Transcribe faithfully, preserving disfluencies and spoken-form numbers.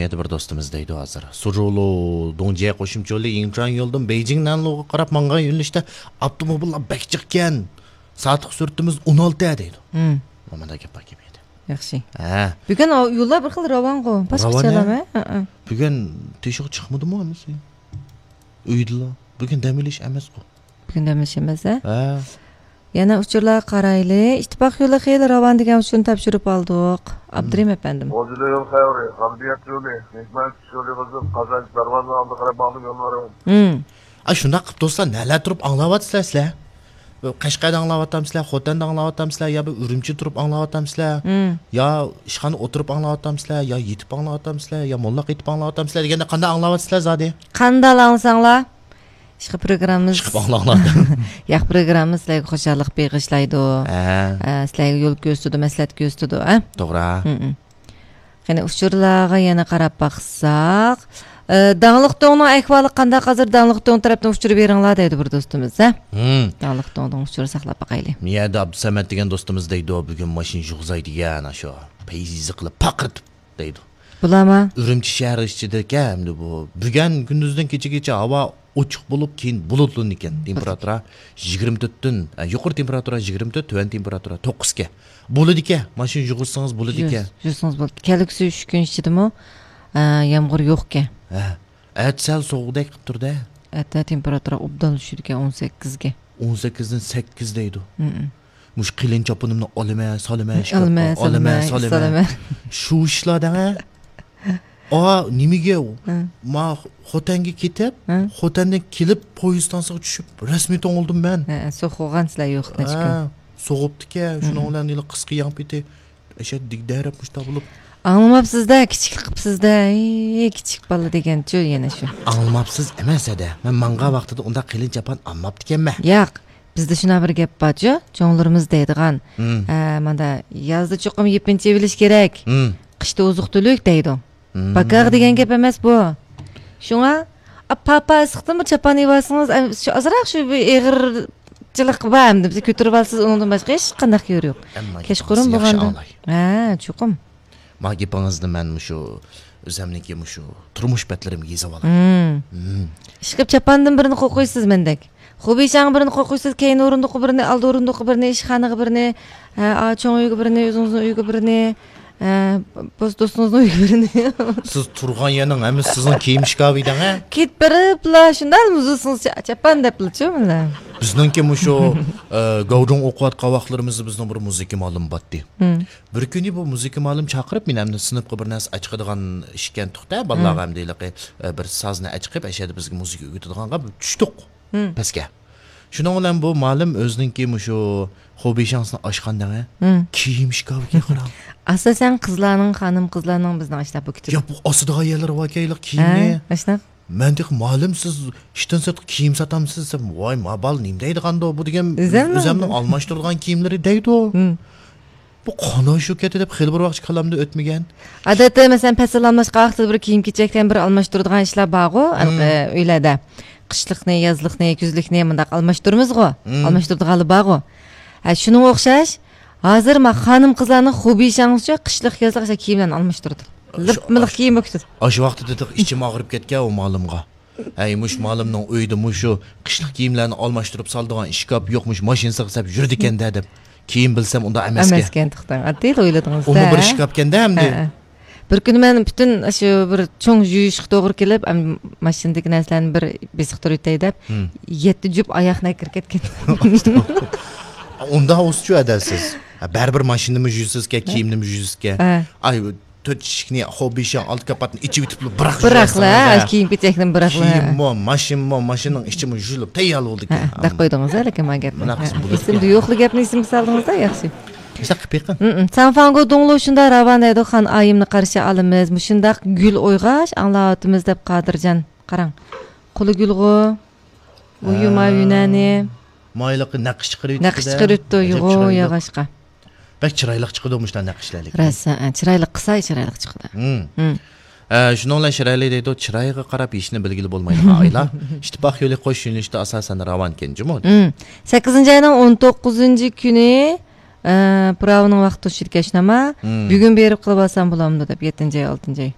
يەنە بىر دوستىمىز دەيدۇ ھازىر. سۇرۇلۇ دۇڭجيې قوشۇمچە يولى ئىڭچۈەن يولىدىن بېيجىڭ نەنلۇغا قاراپ مانغان يۆنىلىشتە ئاپتوموبىللار بەك جىقكەن. سائەتلىك سۈرئىتىمىز ئون ئالتە دەيدۇ. مم. مانا گەپ بار گەپ يەردە. ياخشى. ھە. بۈگۈن ئاۋ-، يوللار بىر خىل راۋانغۇ. پاس راۋان، كېچەلەرمۇ؟ ھە؟ ھە، ھە. بۈگۈن تېشىغا چىقمىدىمۇ ھەممىسى؟ ئۆيدىلا. بۈگۈن دەم ئېلىش ئەمەسقۇ. بۈگۈن دەم ئېلىش ئەمەس، ھە؟ ھە. يەنە ئۇچۇرلارغا قارايلى. ئىتتىپاق يولى خېلى راۋان دېگەن ئۇچۇرنى تاپشۇرۇپ ئالدۇق. ئابدۇرېھىم ئەپەندىم. غۇلجىدا يول خەۋىرى، غەربىيەت يولى، نېمەت يولى بۇزۇپ، قازانچ دەرۋازا ئالدىغا قاراپ ماڭدىم يوللىرىم. ھىم. ئا، شۇنداق قىلىپ دوستلار، نەلەر تۇرۇپ ئاڭلاۋاتىسىلەر سىلەر؟ قەشقەردە ئاڭلاۋاتامسىلەر، خوتەندە ئاڭلاۋاتامسىلەر، يا بىر ئۈرۈمچىدە تۇرۇپ ئاڭلاۋاتامسىلەر، ھىم. يا ئىشخانىدا ئولتۇرۇپ ئاڭلاۋاتامسىلەر، يا يېتىپ ئاڭلاۋاتامسىلەر، يا موللاق ئېيتىپ ئاڭلاۋاتامسىلەر دېگەندە قانداق ئاڭلاۋاتىسىلەر زادى؟ قانداق ئاڭلىساڭلار؟ ئىشقىلىپ پروگراممىمىز، ئىشقىلىپ ئاڭلاڭلار. ياق، پروگراممىمىز سىلەرگە خۇشاللىق بېغىشلايدۇ. ھە. ئە، سىلەرگە يول كۆرسىتىدۇ، مەسلىھەت كۆرسىتىدۇ، ھە؟ توغرا. ھىم، ھىم. قېنى، ئۇچۇرلارغا يەنە قاراپ باقساق، ئە، داڭلىق دۆڭنىڭ ئەھۋالى قانداق؟ ھازىر داڭلىق دۆڭ تەرەپتىن ئۇچۇر بېرىڭلار دەيدۇ بىر دوستىمىز، ھە؟ ھىم. داڭلىق دۆڭدىن ئۇچۇر ساقلاپ باقايلى. مىيەدە ئابدۇسەمەت دېگەن دوستىمىز دەيدۇ، بۈگۈن ماشىنا يۇغۇزاي دېگەن، ئاشۇ پەيزى قىلىپ پاقىرىتىپ دەيدۇ. بۇلارمۇ؟ ئۈرۈمچى شەھىرى ئىچىدىكەن ئەمدى بۇ. بۈگۈن كۈندۈزدىن كېچىگىچە ھاۋا ئوچۇق بولۇپ، كېيىن بۇلۇتلىنىدىكەن. تېمپېراتۇرا يىگىرمە تۆتتىن، ئە، يۇقىرى تېمپېراتۇرا يىگىرمە تۆت، تۆۋەن تېمپېراتۇرا توققۇزكەن. بولىدىكەن. ماشىنا يۇغۇرسىڭىز بولىدىكەن. يۇغۇرسىڭىز بولىدۇ. كەلگۈسى ئۈچ كۈن ئىچىدىمۇ، ئە، يامغۇر يوقكەن. ھە. ئەتە سەل سوغۇقدەك قىلىپ تۇرىدۇ. ئەتە تېمپېراتۇرا ئوبدان چۈشىدىكەن ئون سەككىزگە. ئون سەككىزدىن سەككىز دەيدۇ. مم. مۇشۇ قېلىن چاپىنىمنى ئالىمەن، سالىمەن، ئالىمەن، ئىشكاپقا، سالىمەن، ئالىمەن، سالىمەن. سالىمەن. شۇ ئىشلار دەڭە. ئا، نېمىگە؟ ھە. ما خوتەنگە كېتىپ، ھە. خوتەندىن كېلىپ پويىز ستانسىغا چۈشۈپ، رەسمىي توڭلىدىم مەن. ھە، سوغۇغان سىلەر يوق نەچچە كۈن. ھە، سوغۇپتىكەن. شۇنىڭ بىلەن ھېلى قىسقا يەڭ پېتى ئەشەددىي دەرەپ مۇشتا بولۇپ. ئاڭلىماپسىز-دە، كىچىكلىك قىپسىز-دە، ئەي، كىچىك بالا دېگەنچۇ يەنە شۇ. ئاڭلىماپسىز ئەمەس ھەدە. مەن ماڭغان ۋاقتىدا ئۇنداق قېلىن چاپان ئالماپتىكەنمەن. ياق، بىزدە شۇنداق بىر گەپ بارچۇ، چوڭلىرىمىز دەيدىغان. ھىم. ئە، ماندا، يازدا چوقۇم يېپىنچا ئېۋىلىش كېرەك. ھىم. قىشتا ئوزۇق-تۈلۈك دەيدۇ. ھىم. باكاغ دېگەن گەپ ئەمەس بۇ. شۇڭا، ئا، پاپا ئىسسىقتىن بىر چاپان ئېۋالسىڭىز، ئەم، شۇ ئازراق شۇ بىر ئېغىرچىلىق بار ئەمدى. بىز كۆتۈرۈۋالسىسىز، ئۇنىڭدىن باشقا ھېچقانداق يول يوق. ئەمما كەچقۇرۇن گېپىڭىزنى ياخشى بولغاندا. ئاڭلاي. ھە، چوقۇم. ما گېپىڭىزنى مەن مۇشۇ ئۆزەمنىڭكى مۇشۇ تۇرمۇش بەتلىرىمگە يېزىۋالاي. مم. مم. ئىشقىلىپ چاپاندىن بىرنى قوقۇيسىز مەندەك. خۇبىشاڭ بىرنى قوقۇيسىز، كەينى ئورۇندۇققا بىرنى، ئالدى ئورۇندۇققا بىرنى، ئىشخانىغا بىرنى، ھە، ئا، چوڭ ئۆيگە بىرنى، ئۆزىڭىزنىڭ ئۆيىگە بىرنى، ھە، بۇ دوستىڭىزنىڭ ئۆيىگە بىرنى. سىز تۇرغان يەرنىڭ ھەممىسى سىزنىڭ كىيىم شكاپى دەڭە. كېتىپ بېرىپلا شۇنداق مۇزۇلسىڭىز چا-، چاپان دەپلىچۇ مانا. بىزنىڭكى مۇشۇ، ئە، گاۋجۇڭ ئوقۇۋاتقان ۋاقىتلىرىمىزدا بىزنىڭ بىر مۇزىكا مۇئەللىمى بارتتى. مم. بىر كۈنى بۇ مۇزىكا مۇئەللىمى چاقىرىپ، مېنى ئەمدى سىنىپقا بىر نەرسە ئەچىقىدىغان ئىشكەن تۇقتا، بالىلارغا مم. ئەمدى ھېلىقى، ئە، بىر سازنى ئەچىقىپ، ئەشەدە بىزگە مۇزىكا ئۆگىتىدىغانغا بىر چۈشتۇق مم. پەسكە. شۇنىڭ بىلەن بۇ مۇئەللىم ئۆزىنىڭكى مۇشۇ خۇبىشاڭسىنى ئاچقان دەڭە، مم. كىيىم شكاپىغا قاراڭ. ئاساسەن قىزلارنىڭ، خانىم قىزلارنىڭ بىزنىڭ ئاشۇنداق بۇ كېتىپ يا، بۇ ئاسىدىغان يەرلىرى باركەن ھېلىقى كىيىمنى. ھە، ئاشۇنداق. مەن تېخى، مۇئەللىم، سىز ئىشتىن سىرتقا كىيىم ساتامسىز دېسەم، ۋاي، ما بالا نېمە دەيدىغاندۇ، بۇ دېگەن ئۆزەمنىڭ ئۆزەمنىڭ ئالماشتۇرىدىغان كىيىملىرى دەيدۇ. مم. بۇ قانداق شۇ كېتى دەپ خېلى بىر ۋاقىت كاللامدىن ئۆتمىگەن. ئادەتتە، مەسىلەن، پەسىل ئالماشقان ۋاقتىدا بىر كىيىم-كېچەكتىن بىر ئالماشتۇرىدىغان ئىشلار بارغۇ، مم. ئەنقە ئۆيلەردە. قىشلىقنى، يازلىقنى، كۈزلۈكنى مۇنداق ئالماشتۇرىمىزغۇ. مم. ئالماشتۇرىدىغانلار بارغۇ. ھە، شۇنىڭغا ئوخشاش، ھازىر ما خانىم-قىزلارنىڭ خۇبىشاڭسىچۇ قىشلىق، يازلىق ئاشۇ كىيىملەرنى ئالماشتۇرىدۇ. لىپمىلىق كىيىم بوپتۇ. ئاشۇ ۋاقىتتا دېدۇق، ئىچىم ئاغرىپ كەتكەن ئۇ مۇئەللىمغا. ھەي، مۇشۇ مۇئەللىمنىڭ ئۆيىدە مۇشۇ قىشلىق كىيىملەرنى ئالماشتۇرۇپ سالىدىغان ئىشكاپ يوق، مۇشۇ ماشىنىسىغا سەپ يۈرىدىكەن-دە دەپ. كېيىن بىلسەم، ئۇنداق ئەمەسكەن. ئەمەسكەن، توختاڭ. ئاددىيلا ئويلىدىڭىز-دە. ئۇمۇ بىر ئىشكاپكەن-دە ئەمدى. ھە، ھە. بىر كۈنى مەن پۈتۈن شۇ بىر چوڭ يۇيۇشقا توغرا كېلىپ، ئەم، ماشىنىدىكى نەرسىلەرنى بىر بېسىقتۇرۇۋېتەي دەپ، ھىم. يەتتە جۈپ ئاياغنى ئەكىرىپ كەتكەن. ئۇنداق ئۇسچۇ ئەدەلسىز. ھە، بەرىبىر ماشىنىمۇ يۇيىسىزكەن، ھە. كىيىمنىمۇ يۇيىسىزكەن. ھە. ئاي، تۆت ئىشىكنى، خۇبىشاڭ ئالدى كاپاتنى ئېچىۋېتىپلا بىراقلا بىراقلا، يۇياسىز، ھە. كىيىم-كېچەكنى بىراقلا. كىيىممۇ، ماشىنىمۇ، ماشىنىنىڭ ئىچىمۇ يۇيۇلۇپ تەييار بولىدىكەن. ھە، دەپ قويدىڭىز-ھە، لېكىن ما گەپنى. مۇنداق ھە، قىلسا بولىدىكەن. ئېسىمدە يوقلا گەپنى ئېسىمگە سالدىڭىز-دە، ياخشى. مۇشۇنداق قىلىپ بېقىڭ. ھىم، ھىم. ساڭفاڭگو دۇڭلۇ شۇنداق راۋان دەيدۇ، خان ئايىمنى قارشى ئالىمىز. مۇشۇنداق گۈل ئويغاش ئاڭلاۋاتىمىز دەپ قادىرجان. قاراڭ. قولى گۈلغۇ. ئۇ يۇما ھە. يۈنەنى. مايلىقى نەقىش چىقىرىۋېتىپتۇ-دە. نەقىش چىقىرىۋېتىپتۇ، ئەجەب يۇغۇ چىرايلىق. ياغاچقا. بەك چىرايلىق چىقىدۇ مۇشۇنداق نەقىشلەر لېكىن. راست، ھە، چىرايلىق قىلسا چىرايلىق چىقىدۇ. ھىم. ھىم. ئە، شۇنىڭ بىلەن شىرئەلى دەيدۇ، چىرايغا قاراپ يېشىنى بىلگىلى بولمايدىغان ئايلار. ئىتتىپاق يولى قوش يۆنىلىشىدە ئاساسەن راۋانكەن جۇمۇ. ھىم. سەككىزىنچى ئاينىڭ ئون توققۇزىنچى كۈنى، ئە، پىراۋىنىڭ ۋاقتى توشىدىكەن شۇنداقما؟ ھىم. بۈگۈن بېرىپ قىلىۋالسام بولامدۇ دەپ، يەتتىنچى ئاي، ئالتىنچى ئاي.